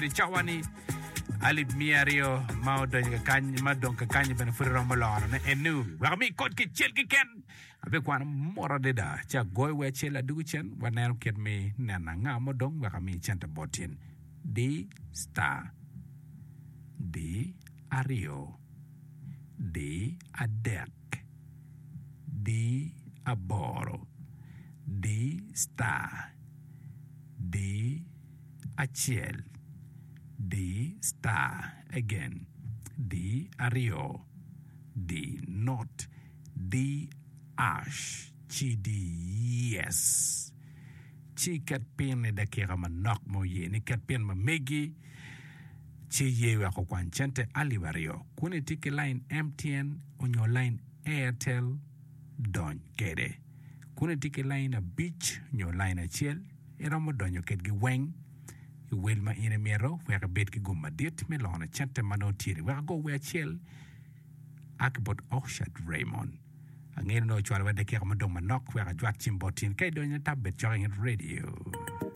I cawa-ni, alip miya aryo ma odonyo kakany, ma dong kakany-nyi bene pud iromo lorone enu. Wek ami kod kicel keken. Abikwano mot adada ci agoyo wi acel adwogo cen waneno kit me neno anga ma odong wek ami cente bot in. Di star di aryo di adek di aboro di star di acel di star again di aryo di not di ash ci di yes ci iket pin i dakika manok ma oye ni ket pin ma megi ci ye wek okwany cente alip aryo kun itye ki lain MTN onyo lain Airtel dony kede kun itye ki lain abic nyo lain acel iromo donyo kedgi weng i wel ma in imito wek ibed ki gum madit me lono cente ma nongo tye-ni wek ago wi acel A ki bot Oxshad Raymond. Angeyo ni nongo ocwalo wa dakika mudong manok wek ajwak cim bot in. Ka idonyo tab bed cok inget radio.